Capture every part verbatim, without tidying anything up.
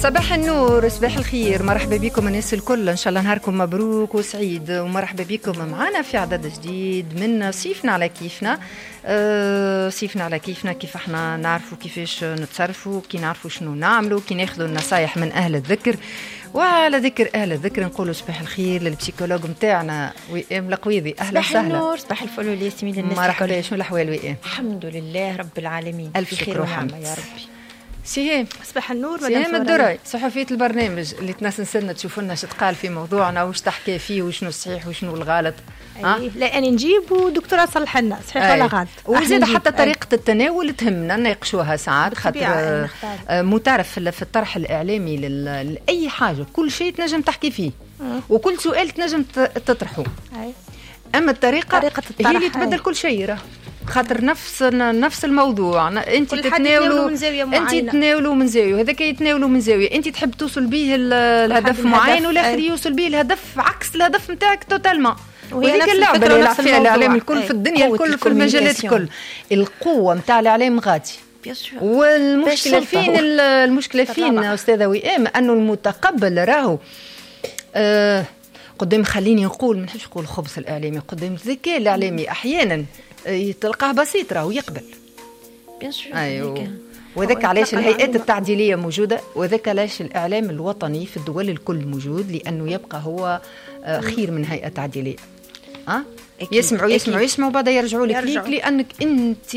صباح النور، صباح الخير، مرحبا بكم الناس الكل، ان شاء الله نهاركم مبروك وسعيد، ومرحبا بكم معنا في عدد جديد من صيفنا على كيفنا. أه صيفنا على كيفنا، كيف احنا نعرفوا كيفاش نتصرفوا، كي نعرفوا شنو نعملوا، كي ناخذوا النصايح من اهل الذكر. وعلى ذكر اهل الذكر نقولوا صباح الخير لل psychologue نتاعنا وئام القويضي. اهلا وسهلا. صباح النور، صباح الفل والياسمين للناس الكل. مرحبا، شنو الاحوال وئام؟ الحمد لله رب العالمين، الف شكر وحمد يا ربي. سهام، صباح النور. سهام الدرعي صحفية البرنامج اللي تنسنسلنا تشوفوا لنا شتقال في موضوعنا وش تحكي فيه وشنو الصحيح وشنو الغلط. أيه. لا أنا نجيب ودكتورة تصلح لنا صحيح ولا غلط، وزيد حتى طريقة التناول تهمنا نناقشوها ساعات، خاطر متعرف في الطرح الإعلامي لأي حاجة كل شيء تنجم تحكي فيه وكل سؤال تنجم تطرحه. أي. أما الطريقة طريقة الطرح هي اللي تبدل كل شيء، راه خاطر نفس نفس الموضوع انت تتناولوا من زاوية معينة، انت تتناولوا من زاوية وهذاك يتناولوا من زاوية، انت تحب توصل به الهدف معين والاخر يوصل به الهدف عكس الهدف نتاعك totalement. وهذيك اللعبة اللي يلعب فيها الاعلام الكل في الدنيا الكل في المجالات الكل، القوة نتاع الاعلام غادي. والمشكلة فين؟ المشكلة فين استاذه وئام؟ انه المتقبل راهو آه قدام، خليني نقول ما نحبش نقول الخبث الاعلامي، قدام الذكاء الاعلامي احيانا تلقاه بسيط راهو يقبل. bien sûr. ايوه، وذاك علاش الهيئات التعديليه موجودة، وذاك علاش الاعلام الوطني في الدول الكل موجود، لانه يبقى هو خير من هيئة تعديليه. أه؟ يسمعوا يسمعوا يسمعوا بعد يرجعوا لك ليك، لانك انت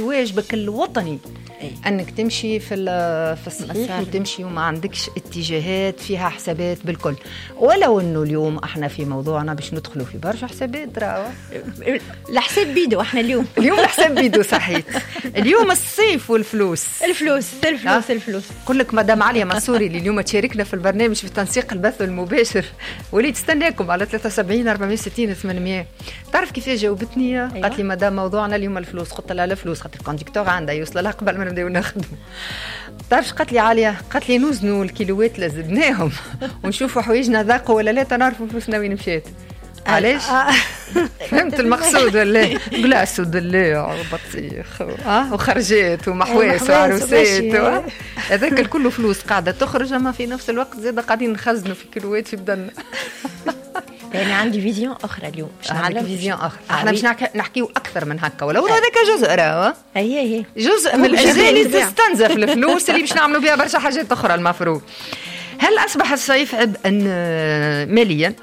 واجبك الوطني أي. انك تمشي في في الصحيح وتمشي وما عندكش اتجاهات فيها حسابات بالكل. ولو انه اليوم احنا في موضوعنا باش ندخلوا في برشا حسابات، راهو الحساب بيدو احنا اليوم اليوم الحساب بيدو صحيح. اليوم الصيف والفلوس، الفلوس الفلوس الفلوس. نقول لك مدام عليا منصوري اللي اليوم تشاركنا في البرنامج في تنسيق البث المباشر واللي تستناكم على ثلاثة وسبعين أربعمية وستين ثمانمية. تعرف كيفاش جاوبتني؟ أيوة. قالت لي مدام موضوعنا اليوم الفلوس، قلت لها الفلوس خاطر ال conducteur عندها يوصل لها قبل ما نبداو نخدموا. تعرفش قالت لي عالية؟ قالت لي نوزنوا الكيلوات اللي زدناهم ونشوفوا حوايجنا ذاقوا ولا لا، تنعرفوا فلوسنا وين مشات. علاش؟ فهمت المقصود ولا؟ glace ودلاع وبطيخ اه وخرجات ومحواس وعروسات، هذاك الكل فلوس قاعدة تخرج، اما في نفس الوقت زاد قاعدين نخزنوا في كيلوات في بدنا. يعني عندي vision اخرى اليوم باش نعلم vision اخرى، احنا باش نحكيو اكثر من هكا، ولو هذاك جزء راهو هي هي جزء من الاجزاء اللي تستنزف الفلوس اللي باش نعملوا بها برشا حاجات اخرى المفروض. هل اصبح الصيف عبئا ماليا؟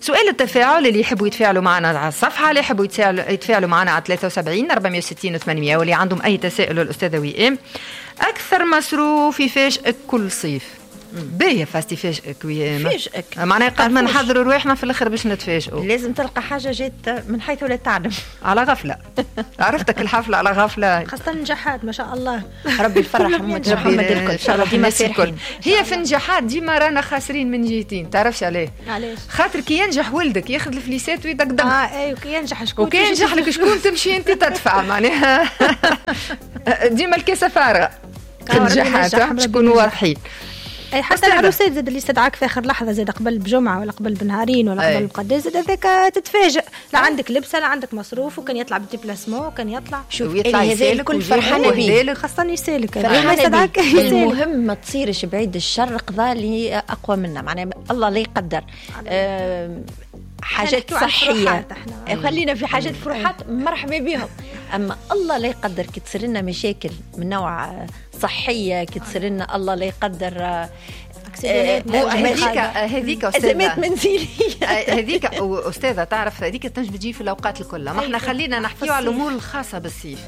سؤال التفاعل اللي يحبوا يتفاعلوا معنا على الصفحة، اللي يحبوا يتفاعلوا معنا على ثلاثة وسبعين أربعمية وستين ثمانمية، واللي عندهم اي تساؤل للاستاذه وئام. اكثر مصروف يفاجئك كل صيف؟ باهية فاستي فاجئك ويا فاجئك، معناها قد ما نحضروا رواحنا في الاخر باش نتفاجئوا. لازم تلقى حاجة جات من حيث لا تعلم، على غفلة. عرفتك الحفلة على غفلة، خاصة النجاحات ما شاء الله. ربي يفرح محمد الكل ان شاء الله، ديما الكل. هي في النجاحات ديما رانا خاسرين من جهتين، تعرفش عليه؟ علاش؟ خاطر كي ينجح ولدك ياخذ الفليسات ويدقدق. اه اي، وكي ينجح شكون؟ وكي ينجح لك شكون تمشي انت تدفع، معناها ديما الكاسه فارغة. النجاحات باش نكونوا واضحين. اي حتى العروسات زاد اللي استدعاك في اخر لحظة، زاد قبل بجمعه ولا قبل بنهارين ولا قبل بقداش، زاد هذاك تتفاجئ، لا عندك لبسه لا عندك مصروف، وكان يطلع بال déplacement وكان يطلع شوف يطلع يسالك فرحانة بيه، خاصة يسالك ما يستدعاك. المهم ما تصيرش بعيد الشر قضاء اللي اقوى منا، معناها الله لا يقدر آه حاجات صحية، خلينا في حاجات فروحات مرحبا بهم، اما الله لا يقدر كي تصير لنا مشاكل من نوع صحية، كي تصير لنا الله لا يقدر هذيك هذيك ازمات منزلية، هذيك استاذه تعرف هذيك تنجم تجي في الاوقات الكل. ما احنا خلينا نحكيو على الامور الخاصة بالصيف،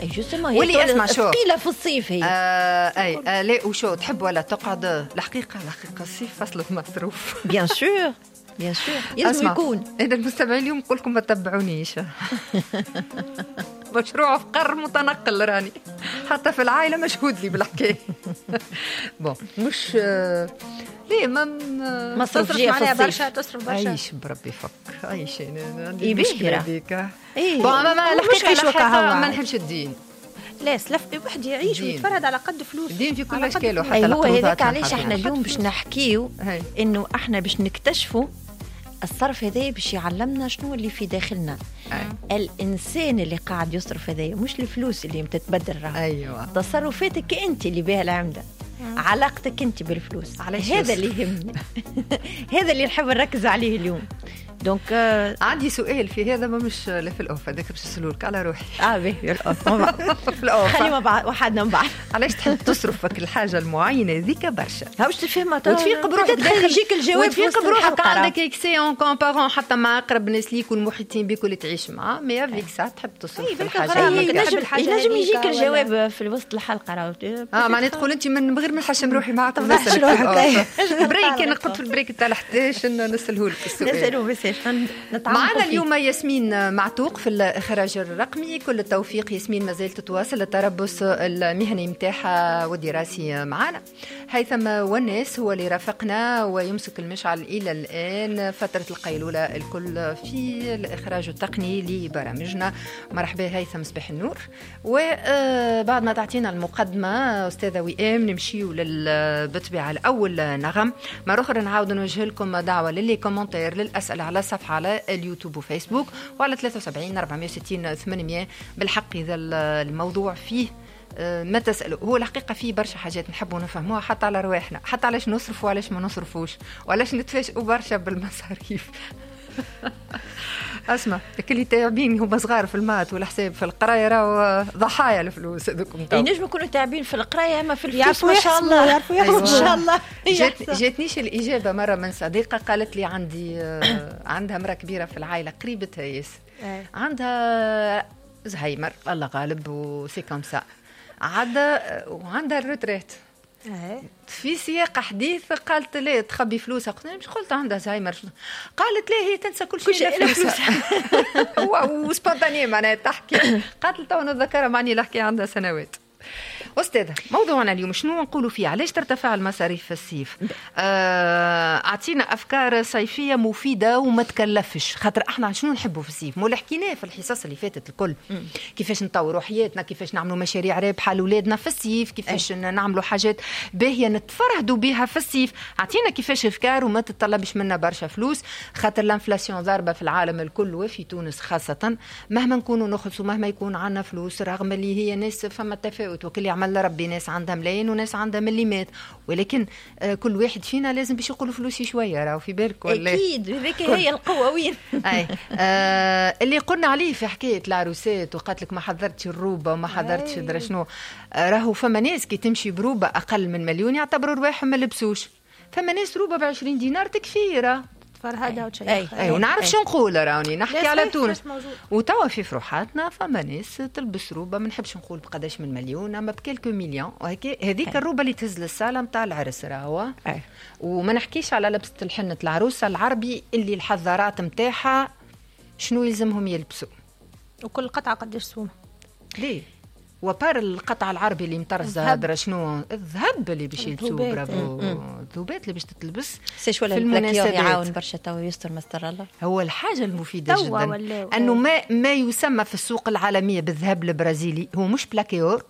واللي اسمع شو ثقيلة في الصيف هي. آه اي آه لا وشو تحب ولا تقعد. الحقيقة الحقيقة الصيف فصل المصروف. bien sûr bien sûr لازم يكون. انا المستمعين اليوم نقول لكم ما تتبعونيش. مشروع فقر متنقل راني، حتى في العائلة مشهود لي بالحكاية. bon مش ليه ما مصروف معناها برشا، تصرف برشا. عيش بربي فك عيش، انا عندي مشكلة هذيك. ايه bon ما الحقيقة ما نحبش الدين. لا سلف واحد يعيش ويتفرد على قد فلوس، الدين في كل اشكاله حتى هو هذاك. علاش احنا اليوم باش نحكيو انه احنا باش نكتشفوا الصرف هذا باش يعلمنا شنو اللي في داخلنا. أي. الإنسان اللي قاعد يصرف هذا مش الفلوس اللي تتبدل راه. أيوة. تصرفاتك أنت اللي بها العمدة. علاقتك انت بالفلوس، هذا اللي يهمني. هذا اللي نحب نركز عليه اليوم. donc آه عندي سؤال في هذا، ما مش لا في ال off، هذاك باش نسألولك على روحي. اه باهي في ال off في ال off خلي مع بعض وحدنا من بعد. علاش تحب تصرف فك الحاجة المعينة ذيك برشا؟ باش تفهمها وتفيق بروحك داخل يجيك الجواب، وتفيق بروحك عندك excès en comparant حتى مع اقرب الناس ليك والمحيطين بك واللي تعيش معاه، mais avec ça تحب تصرف في الحاجة. ينجم يجيك الجواب في وسط الحلقة راهو. اه معناها تقول انت من غير ما نحشم روحي معاك نسال روحك. break انا قلت في ال break تاع احداش نساله لك السؤال. نسالوه بس معنا اليوم ياسمين معتوق في الإخراج الرقمي. كل التوفيق ياسمين، ما زالت تواصل التربص المهني متاعها والدراسي معنا. هيثم والناس هو اللي رافقنا ويمسك المشعل إلى الآن فترة القيلولة الكل في الإخراج التقني لبرامجنا. مرحبا هيثم، صباح النور. وبعد ما تعطينا المقدمة أستاذة وئام نمشيو بالطبيعة الأول نغم. مرة أخرى نعاود نوجه لكم دعوة ل les commentaires، للأسئلة على صفحة على اليوتيوب وفيسبوك وعلى ثلاثة وسبعين أربعمية وستين ثمانمية. بالحق إذا الموضوع فيه ما تسألوا، هو الحقيقة فيه برشا حاجات نحبوا نفهموها حتى على رواحنا، حتى علاش نصرفوا وعلاش ما نصرفوش وعلاش نتفاجئوا برشا بالمصاريف. اسمع اللي تعبين هما صغار في ال maths والحساب في القراية راهو ضحايا الفلوس هذوكم. تو ينجموا يكونوا تعبين في القراية اما في الفلوس ما شاء الله يعرفوا يحسبوا. ما شاء الله. جات جاتنيش الاجابة مرة من صديقه، قالت لي عندي عندها امراة كبيرة في العائلة قريبتها ياسر، عندها زهايمر الله غالب و c'est comme ça عاد وعندها ال retraite. في سياق حديث قالت لي تخبي فلوسها، قلت لها مش قلت عندها زهايمر، قالت لي هي تنسى كل شيء الا فلوسها. و spontané معناها تحكي، قالت لي تو نتذكرها معني الحكاية عندها سنوات. أستاذة موضوعنا اليوم شنو نقولوا فيه؟ علاش ترتفع المصاريف في الصيف؟ أعطينا أفكار صيفية مفيدة وما تكلفش، خاطر احنا شنو نحبوا في الصيف؟ مو اللي حكيناه في الحصص اللي فاتت الكل، كيفاش نطوروا حياتنا، كيفاش نعملوا مشاريع رابحة لأولادنا في الصيف، كيفاش نعملوا حاجات باهية نتفرهدوا بها في الصيف. أعطينا كيفاش أفكار وما تتطلبش منا برشا فلوس، خاطر l'inflation ضاربة في العالم الكل وفي تونس خاصة. مهما نكونوا نخلصوا، مهما يكون عندنا فلوس، رغم اللي هي ناس فما تفاوت وكل يعمل ربي، ناس عندها ملايين وناس عندها مليمات، ولكن كل واحد فينا لازم باش يقولوا فلوسي شوية، راهو في بالك ولا اكيد هذيك هي القوة وين. اي آه اللي قلنا عليه في حكاية العروسات وقالت لك ما حضرتش الروبه وما حضرتش درا شنو، راهو فما ناس كي تمشي بروبه اقل من مليون يعتبروا رواحهم ما لبسوش، فما ناس روبه ب عشرين دينار تكفي راه فرهدة وتشيخ. اي ونعرف شو نقول راني نحكي على تونس. وتوا في فروحاتنا فما ناس تلبس روبه ما نحبش نقول بقداش من مليون، اما ب quelques millions، وهيك هذيك الروبه اللي تهز للصاله نتاع العرس راهو. وما نحكيش على لبسه الحنة العروسة العربي اللي الحضارات نتاعها شنو يلزمهم يلبسوا وكل قطعه قداش سومه. ليه و à part القطع العربي اللي مطرزه هذا شنو الذهب اللي باش يلبسوه، برافو الذوبات اللي باش تتلبس في المناسبات. يعاون برشا تو يستر مستر الله. هو الحاجة المفيدة جدا انه ما ما يسمى في السوق العالمية بالذهب البرازيلي هو مش plaqué or،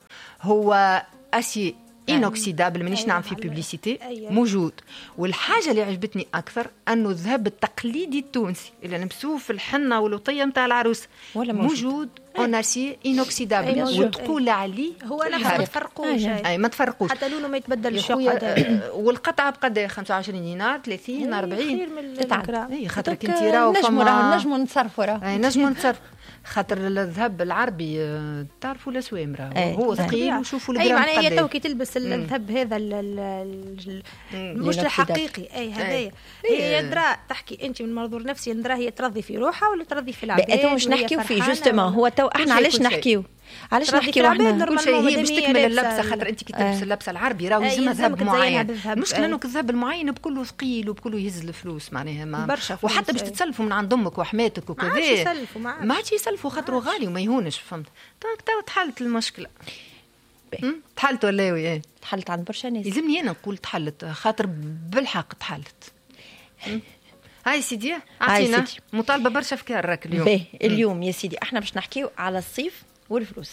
هو acier inoxydable، مانيش نعمل في publicité، موجود. والحاجة اللي عجبتني اكثر انه الذهب التقليدي التونسي اللي نلبسوه في الحنة والوطيه نتاع العروس موجود en acier inoxydable، وتقول عليه هو انا ما تفرقوش. اي ما تفرقوش حتى لونه ما يتبدلش. والقطعه بقد خمسة وعشرين دينار ثلاثين أربعين اي خاطر كنتي راهو نجموا راهو نجموا نتصرفوا راهو اي نجموا نتصرفوا خاطر الذهب العربي تعرفوا الاسوام راهو هو ثقيل وشوفوا الجرام. اي معناها هي تو كي تلبس الذهب هذا مش الحقيقي اي هذايا هي درا تحكي انت من منظور نفسي ندرا هي ترضي في روحها ولا ترضي في العباد. تو مش نحكيو فيه justement هو تو احنا علاش نحكيو علاش نحكيو احنا كل شيء هي باش تكمل اللبسه، خاطر انت كي تلبس اللبسه العربي راهو يلزمها ذهب معين. المشكلة انه الذهب المعين بكله ثقيل وبكله يهز الفلوس معناها ما وحتى باش تتسلفوا من عند امك وحماتك وكذا ما عادش يسلفوا ما عادش يسلفوا خاطره غالي وما يهونش. فهمت؟ donc تو تحلت المشكلة. تحلت ولا ايه؟ تحلت عند برشا ناس. يلزمني انا نقول تحلت خاطر بالحق تحلت. هاي سيدي اعطينا مطالبه برشا افكار راك اليوم. باهي اليوم يا سيدي احنا باش نحكيو على الصيف والفلوس.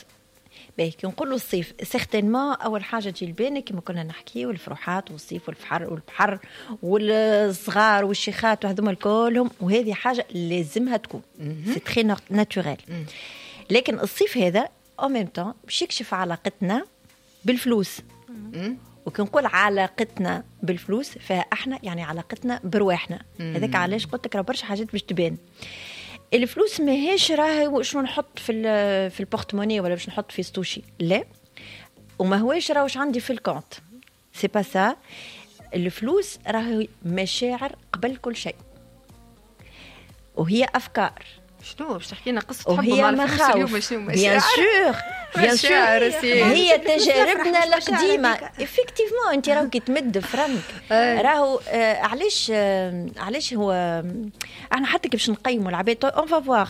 باهي كي نقولوا الصيف certainement اول حاجة تجي لبالنا كما كنا نحكيو الفروحات والصيف والبحر والبحر والصغار والشيخات وهذوما كلهم، وهذه حاجة لازمها تكون c'est très naturel. لكن الصيف هذا en même temps باش يكشف علاقتنا بالفلوس وكي نقول علاقتنا بالفلوس فاحنا يعني علاقتنا برواحنا. هذاك علاش قلت لك راه برشا حاجات باش تبان. الفلوس ماهيش راهي شنو نحط في في ال porte-monnaie ولا باش نحط في ستوشي، لا، وما هواش راهوش عندي في ال compte، c'est pas ça. الفلوس راهي مشاعر قبل كل شيء، وهي افكار. شنو باش تحكي لنا قصة حب مع الفلوس اليوم؟ bien sûr bien sûr، هي تجاربنا القديمة effectivement. انت راهو كي تمد فرنك راهو آه علاش آه علاش هو احنا حتى كي باش نقيموا العباد on va voir،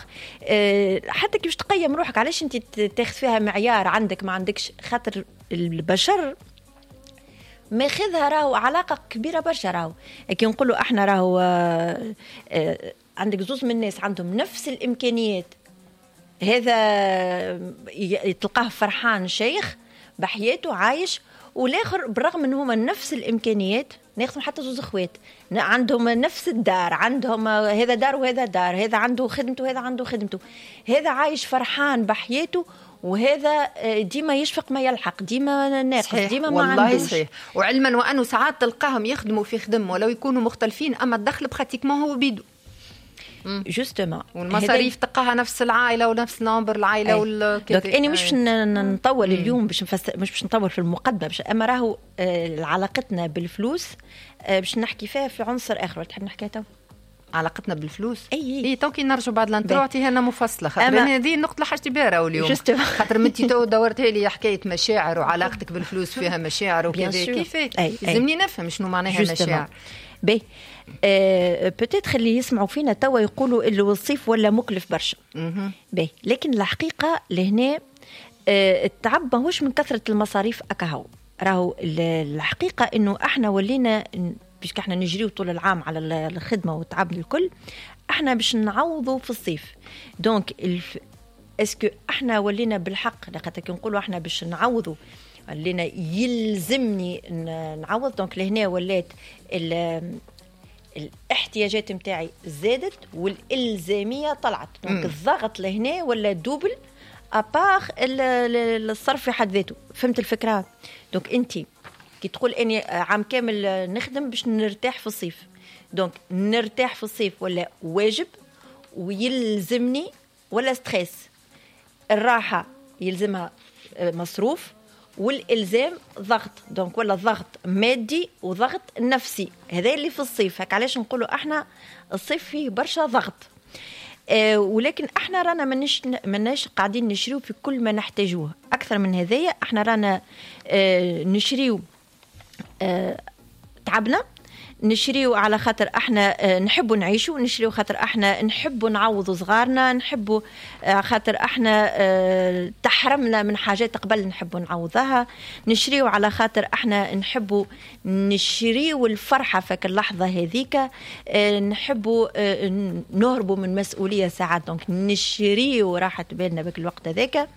حتى كي باش تقيم روحك علاش انت تاخذ فيها معيار عندك ما عندكش، خاطر البشر ماخذها راهو علاقة كبيرة برشا. راهو كي نقولوا احنا راهو آه آه عندك زوز من الناس عندهم نفس الإمكانيات، هذا تلقاه فرحان شيخ بحياته عايش، والآخر بالرغم من هما نفس الإمكانيات، ناخذ حتى زوز اخوات عندهم نفس الدار، عندهم هذا دار وهذا دار، هذا عنده خدمته وهذا عنده خدمته، هذا عايش فرحان بحياته وهذا ديما يشفق ما يلحق، ديما ناقص، ديما ما عندوش. والله صحيح. وعلما وأنه ساعات تلقاهم يخدموا في خدم ولو يكونوا مختلفين، أما الدخل pratiquement هو بيدو justement، والمصاريف تلقاها نفس العائلة ونفس nombre العائلة وال donc اني مش باش نطول اليوم باش نفسر، مش باش نطول في المقدمة باش، اما راهو علاقتنا بالفلوس باش نحكي فيها في عنصر اخر. تحب نحكيها تو؟ علاقتنا بالفلوس اي اي تو كي نرجعوا بعد l'intro عطيها لنا مفصلة، خاطر هذه النقطة اللي حاجتي بها راهو اليوم، خاطر انت تو دورتها لي حكاية مشاعر وعلاقتك بالفلوس فيها مشاعر وكذا، كيف لازمني نفهم شنو معناها مشاعر. باهي peut-être اللي يسمعوا فينا توا يقولوا اللي الصيف ولا مكلف برشا. باهي، لكن الحقيقة لهنا أه التعب ماهوش من كثرة المصاريف اكاهو، راهو الحقيقة انه احنا ولينا باش احنا نجريو طول العام على الخدمة والتعب الكل، احنا باش نعوضوا في الصيف. donc الف... est-ce que احنا ولينا بالحق لخاطر كي نقولوا احنا باش نعوضوا ولينا يلزمني نعوض. donc لهنا ولات ال... الاحتياجات متاعي زادت والالزاميه طلعت، donc الضغط لهنا ولا double à part الصرف في حد ذاته. فهمت الفكرة؟ donc انت كي تقول اني عام كامل نخدم باش نرتاح في الصيف، donc نرتاح في الصيف ولا واجب ويلزمني ولا stress. الراحة يلزمها مصروف والالزام ضغط، donc ولا ضغط مادي وضغط نفسي، هذا اللي في الصيف. هك علاش نقولوا احنا الصيف فيه برشا ضغط. آه ولكن احنا رانا منش مناش قاعدين نشريو في كل ما نحتاجوه. اكثر من هذايا احنا رانا آه نشريو آه تعبنا، نشريو على خاطر احنا نحبوا نعيشوا، نشريو خاطر احنا نحبوا نعوضوا صغارنا، نحبوا خاطر احنا تحرمنا من حاجات قبل نحبوا نعوضها، نشريو على خاطر احنا نحبوا نشريو الفرحة فك اللحظة هذيك، نحبوا نهربوا من مسؤولية ساعات، donc نشريو راحة بالنا بك الوقت هذاك.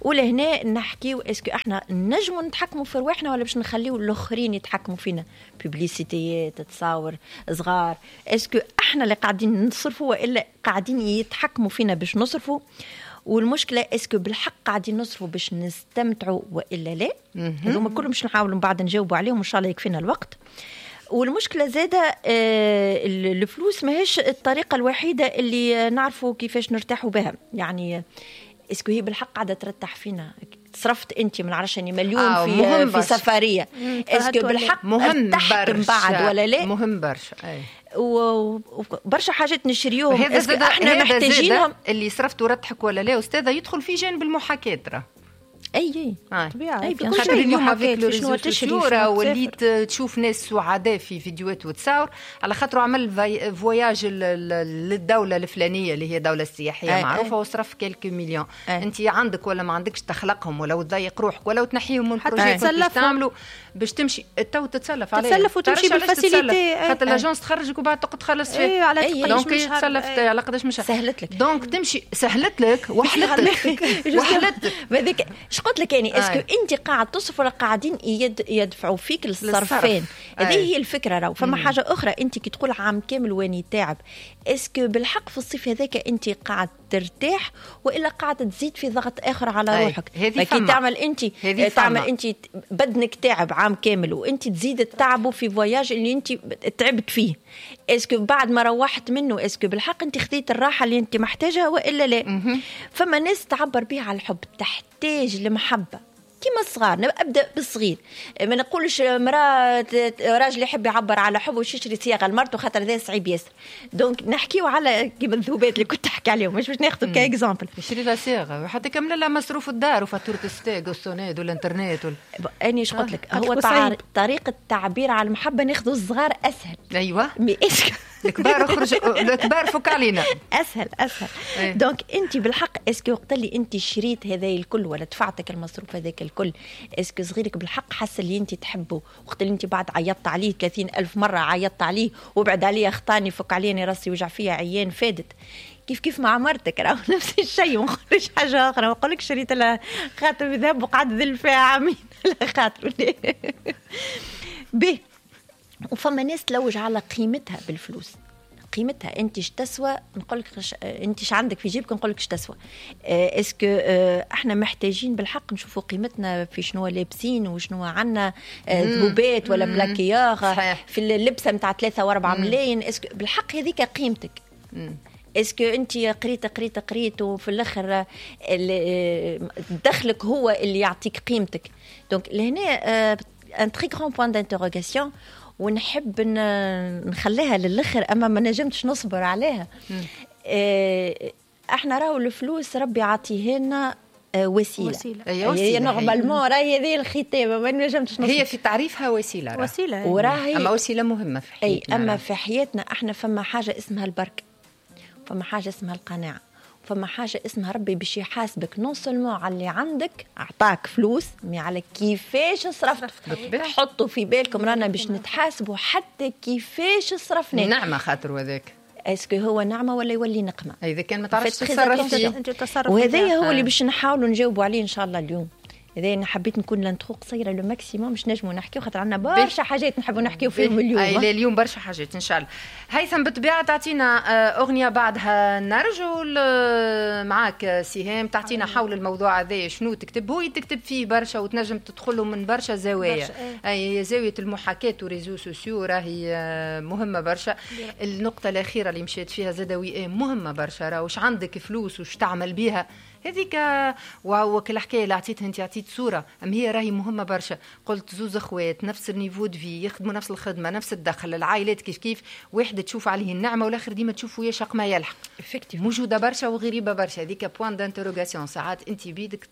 ولهنا نحكيو est-ce que احنا نجموا نتحكموا في رواحنا ولا باش نخليو الاخرين يتحكموا فينا، publicité ات، تصاور صغار، est-ce que احنا اللي قاعدين نصرفوا والا قاعدين يتحكموا فينا باش نصرفوا؟ والمشكلة est-ce que بالحق قاعدين نصرفوا باش نستمتعوا والا لا؟ هذوما كلهم باش نحاولوا من بعد نجاوبوا عليهم ان شاء الله يكفينا الوقت. والمشكلة زاده الفلوس ماهيش الطريقة الوحيدة اللي نعرفوا كيفاش نرتاحوا بها، يعني est-ce que هي بالحق قاعدة ترتاح فينا؟ صرفت انت من عرفش اني مليون آه في في سفرية، est-ce que بالحق مهم برشا من بعد ولا لا؟ مهم برشا. وبرشا حاجات نشريوهم est-ce que احنا محتاجينهم؟ اللي صرفت ورتحك ولا لا استاذه يدخل في جانب المحاكاة راه. اي اي طبيعي، اي كل شيء اليوم avec les réseaux sociaux وليت تشوف ناس سعداء في فيديوهات وتصاور على خاطر عمل voyage للدولة الفلانية اللي هي دولة سياحية أي معروفة وصرف quelques millions. انت عندك ولا ما عندكش تخلقهم ولو تضيق روحك ولو تنحيهم من ال projet باش تعملوا باش تمشي تو تتسلف عليه، تتسلف وتمشي بال facilité، خاطر l'agence تخرجك وبعد تقعد تخلص فيه. اي donc تسلف على قداش مش سهلت لك، donc تمشي سهلت لك وحلت لك وحلت هذيك. اش قلت لك يعني est-ce que انت قاعد تصرف ولا قاعدين يد يدفعوا فيك الصرفين؟ هذه هي الفكرة. راهو فما حاجة اخرى، انت كي تقول عام كامل واني تعب، est-ce que بالحق في الصيف هذاك انت قاعد ترتاح والا قاعد تزيد في ضغط اخر على روحك. كي تعمل انت تعمل انت بدنك تعب عام كامل وانت تزيد تعبه في voyage اللي انت تعبت فيه، est-ce que بعد ما روحت منه est-ce que بالحق انت خذيت الراحة اللي انت محتاجها والا لا؟ فما ناس تعبر بها على الحب، تحتاج المحبة كيما الصغار. ابدا بالصغير، ما نقولش مراة راجل يحب يعبر على حبه ويشري صياغة لمرته خاطر هذا صعيب ياسر. donc نحكيو على كيما الذهوبات اللي كنت تحكي عليهم، مش باش ناخذ ك exemple. يشري لها صياغة وحتى كمل لها مصروف الدار وفاتوره الستاغ والسوناد والانترنت وال... اني اش قلت لك، هو طريقه التعبير على المحبة ناخذوا الصغار اسهل. ايوه الكبار اخرج، الكبار فك علينا اسهل اسهل. أيه. donc انت بالحق est-ce que وقت اللي انت شريت هذا الكل ولا دفعتك المصروف هذاك الكل، est-ce que صغيرك بالحق حس اللي انت تحبه؟ وقت اللي انت بعد عيطت عليه ثلاثين ألف مرة، عيطت عليه وبعد عليه اخطاني فك عليني راسي وجع فيا عيان فادت. كيف كيف مع مرتك راهو نفس الشيء، ما نقولش حاجة اخرى، ما نقولكش شريت لها خاتم ذهب وقعد ذل فيها عامين على خاطر به. وفما ناس تلوج على قيمتها بالفلوس، قيمتها انت اش تسوى، نقول لك انت اش عندك في جيبك نقول لك اش تسوى. est-ce que احنا محتاجين بالحق نشوفوا قيمتنا في شنو لابسين وشنو عندنا ذهوبات ولا plaqué or في اللبسه نتاع ثلاثة وأربعة ملايين، est-ce que بالحق هذيك قيمتك؟ est-ce que انت قريت قريت قريت وفي الاخر دخلك هو اللي يعطيك قيمتك. donc لهنا un très grand point d'interrogation، ونحب نخليها للاخر اما ما نجمتش نصبر عليها. احنا راهو الفلوس ربي عطية لنا وسيلة، وسيلة. هي وسيلة normalement راهي هذه الختامه، ما نجمتش نصبر. هي في تعريفها وسيلة، راه. وسيلة وراهي اما وسيلة مهمة في حياتنا. اي اما في حياتنا احنا فما حاجة اسمها البركة، فما حاجة اسمها القناعة، فما حاجة اسمها ربي باش يحاسبك non seulement على اللي عندك اعطاك فلوس، mais على كيفاش صرفت. حطوا في بالكم رانا باش نتحاسبوا حتى كيفاش صرفنا. نعمه خاطر وذاك est-ce que هو نعمه ولا يولي نقمه؟ اذا كان ما تعرفش تتصرف فيه. وهذا هو اللي باش نحاولوا نجاوبوا عليه ان شاء الله اليوم. هذا انا حبيت نكون l'intro قصيرة le maximum باش نجموا نحكيو، خاطر عندنا برشا حاجات نحبوا نحكيو فيهم اليوم. اي اليوم برشا حاجات ان شاء الله. هيثم بالطبيعة تعطينا اغنية بعدها نرجو معاك سهام تعطينا حول الموضوع هذا شنو تكتب. هو تكتب فيه برشا وتنجم تدخله من برشا زوايا. اي زاوية المحاكاة و réseaux sociaux راهي مهمة برشا. النقطة الاخيرة اللي مشيت فيها زاده وئام مهمة برشا، راه واش عندك فلوس وش تعمل بيها هذيك. وكل حكاية اللي عطيتها انت عطيت صوره، ام هي راهي مهمة برشا. قلت زوز اخوات نفس ال niveau de vie، يخدموا نفس الخدمة نفس الدخل، العائلات كيف كيف، واحد تشوف عليه النعمة والاخر ديما تشوفه يشق ما يلحق. موجودة برشا وغريبة برشا هذيك point d'interrogation. ساعات انت بيدك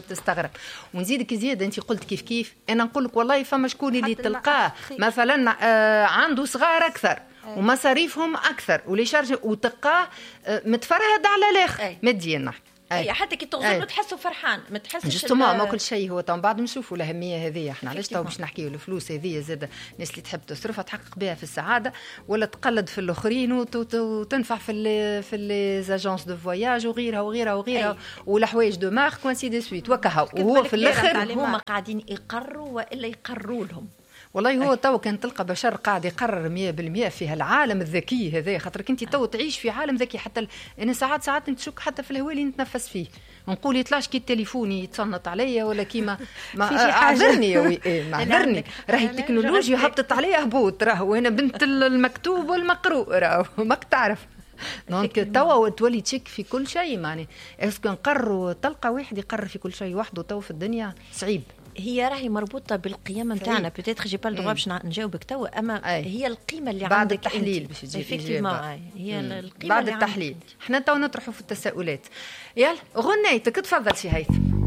تستغرب. ونزيدك زيادة انت قلت كيف كيف، انا نقول لك والله فما شكون اللي تلقاه مثلا آه عنده صغار اكثر ومصاريفهم اكثر و les charges وتلقاه متفرهد على الاخر ماديا نحكي. أي. حتى كي تغزر له تحسه فرحان، ما تحسش justement. ما كل شيء هو تو بعد نشوفوا الاهمية هذه. احنا علاش تو باش نحكيو الفلوس هذه زاد الناس اللي تحب تصرفها تحقق بها في السعادة ولا تقلد في الاخرين وتنفع في ال في les agences de voyage وغيرها وغيرها وغيرها والحوايج de marque و ainsi de suite وكهو. وهو في الاخر هما قاعدين يقروا والا يقروا لهم. والله هو تو كان تلقى بشر قاعد يقرر مية بالمية في هالعالم الذكي هذا، خاطرك انت تو تعيش في عالم ذكي. حتى ال... انا ساعات ساعات نتشك حتى في الهواء اللي نتنفس فيه، نقول يطلعش كي التليفون يتصنت عليا ولا كيما ما اعذرني يا وي ما اعذرني، راهي التكنولوجيا هبطت عليا هبوط، راهو انا بنت المكتوب والمقروء، راهو ماك تعرف. donc توا تولي تشك في كل شيء. معني est-ce que نقروا تلقى واحد يقرر في كل شيء وحده تو في الدنيا صعيب. هي راهي مربوطة بالقيم نتاعنا. peut-être j'ai pas le droit باش نجاوبك توا، اما أي. هي القيمة اللي بعد عندك التحليل باش تجي هي القيمة بعد التحليل. احنا تو نطرحوا في التساؤلات. يلا غنيتك تفضل سي هيثم.